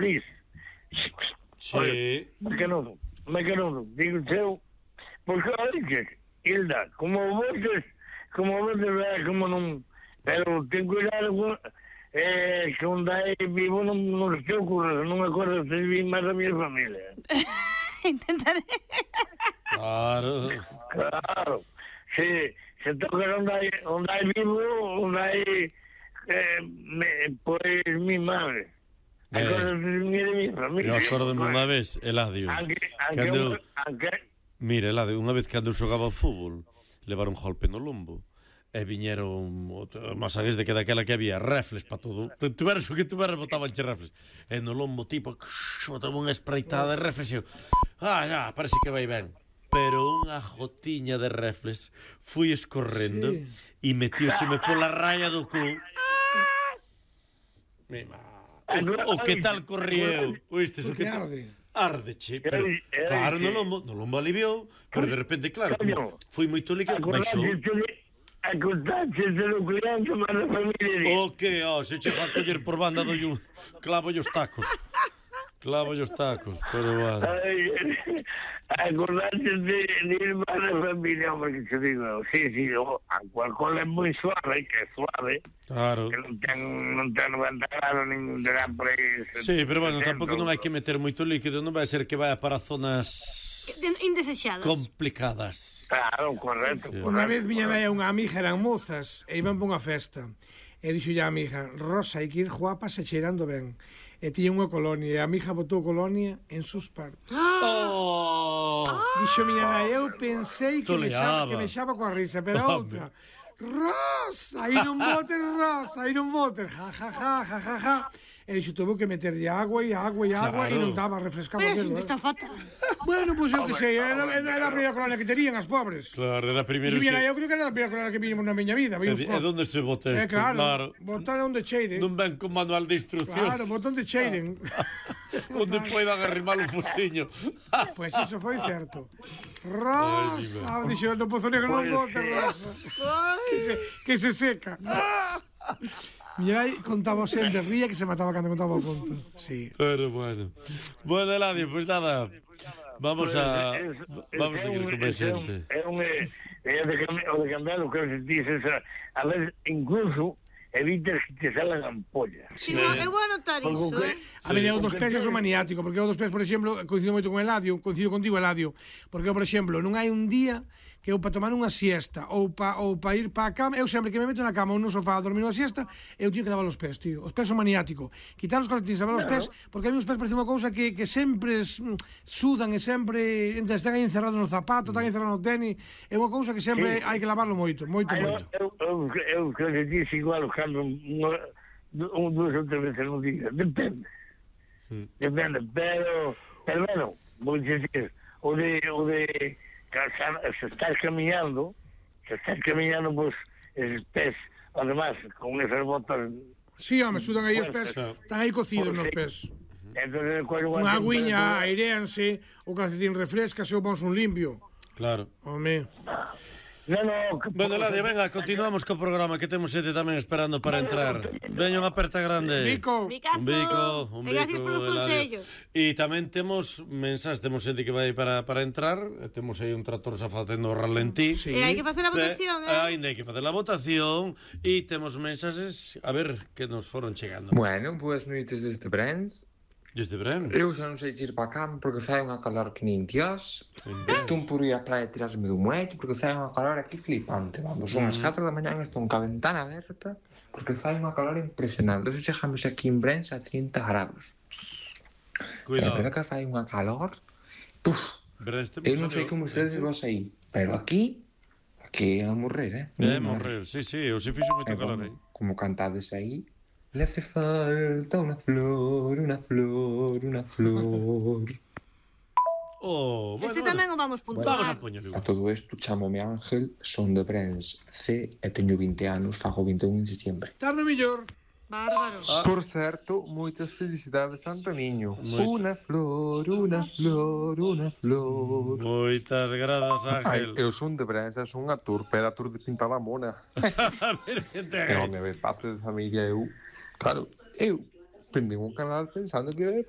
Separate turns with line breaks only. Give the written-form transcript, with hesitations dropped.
feliz.
Sí.
Mecanudo, digo eu, porque olha, Hilda, como voces, como non, pero ten cuidado que onde hai vivo non se te ocurre, non me acordo se vi máis da minha familia.
Intentaré.
Claro.
Se toca onde hai vivo, onde hai pois mi madre.
Eu acordo-me unha vez, Eladio, mira, Eladio, unha vez cando xogaba ao fútbol, levaron un golpe no lombo e viñeron masagues de que daquela que había refles para todo, tuveras o que tuveras botaban che refles, e no lombo tipo botaba unha espreitada de refles e já, parece que vai ben, pero unha gotiña de refles fui escorrendo e metióseme pola raya do cu. O que tal corrieu? Oíste, o que
arde.
Ardeche, pero claro, no lombo aliviou, pero de repente, claro, como foi moito líquido, baixou.
Acordaxe de lo crianza máis a familia.
O que, se che va a coller por banda clavo os tacos. Pero bueno.
Acordaxe de ir máis a familia, porque te digo, sí, cual é moi suave, que é suave.
Claro.
Que non ten 90 grados, nin terá por aí.
Sí, pero bueno, tampouco non hai que meter moito líquido, non vai ser que vaya para zonas
indesexadas,
complicadas.
Claro, correcto.
Unha vez viñan aí unha amiga, eran mozas, e iban por unha festa. E dixo a amiga, Rosa, hai que ir guapas e cheirando ben. E tiña unha colonia, e a amiga botou colonia en sus partes. Dixo miña nai, eu pensei que mexaba coa risa, pero outra, Rosa, aí non botes, ja. E dixo, tuvo que meterlle agua e non estaba refrescado
aquilo.
Pero
está fatal.
Bueno, pois eu que sei, era a primeira colonia que terían as pobres.
Claro, era a primeira.
Eu creo que era a primeira colonia que vimos na miña vida.
E onde se bota isto?
Claro, botar onde cheiren.
Non ven con manual de instruccións.
Claro, botar onde cheiren.
Onde poidan arrimar o fociño.
Pois iso foi certo. Rosa, dixo, no Pozo Negro non bota, Rosa. Que se seca. Miña nai contaba sempre, ría que se mataba cando contaba o conto. Sí.
Pero bueno. Bueno, Eladio, pois nada. Vamos a seguir con a xente.
O de cambiar o que se dices, a veces incluso evitas que te salgan ampollas.
Sí, eu vou anotar iso.
A mí o dos pés é maniático, porque o dos pés, por exemplo, coincido moito con Eladio, coincido contigo, Eladio, porque, por exemplo, non hai un día que eu para tomar unha siesta ou para ir para a cama, eu sempre que me meto na cama ou no sofá a dormir unha siesta, eu teño que lavar os pés, tío. Os pés son maniático. Quitar os calcetines, lavar os pés, porque a mí os pés parece unha cousa que sempre sudan e sempre están aí encerrados no zapato, están encerrados no tenis, é unha cousa que sempre hai que lavarlo moito.
Eu creo que dices igual os cando duas ou tres veces no día. Depende, pero bueno, vou dizer, o de se estás caminhando, pues, esos pés, además, con esas botas...
Sí, home, sudan aí os pés, están aí cocidos nos pés. Unha agüiña, aireanse, o calcetín refrescase ou vamos un limpio.
Claro.
Home...
Bueno, Eladio, venga, continuamos co programa, que temos xente tamén esperando para entrar. Veña unha aperta grande.
Un
bico. Gracias polos consellos.
E tamén temos mensaxes, temos xente que vai para entrar, temos aí un tractor xa facendo ralentí.
E hai que facer a votación,
Ainda hai que facer a votación e temos mensaxes, a ver, que nos foron chegando.
Bueno, boas noites desde Brens.
Desde Brens?
Eu xa non sei ir para a cama porque fai unha calor que nin Dios. Estou por ir á praia e tirarme do muelle porque fai unha calor aquí flipante. Vamos, son as 4 da mañá estou ca ventana aberta porque fai unha calor impresionante. Entón chegamos aquí en Brens a 30 grados.
Cuidado.
É verdade que fai unha calor. Eu non sei como ustedes vos aí, pero aquí é a morrer,
É a morrer, sí, eu se fixo moito calor aí.
Como cantades aí. Le hace falta una flor.
Este tamén o vamos puntuar.
Vamos a poñer.
A todo isto chámome Ángel, son de Brens C e teño 20 anos, fago 21 en setembro.
Tarno millor.
Bárbaro.
Por certo, moitas felicidades, Antoniño. Una flor.
Moitas gradas, Ángel.
Eu son de Brens, son a tour, pero a tour de pintar a mona. E onde me pase de familia eu, claro, eu prendei un canal pensando que ia pasar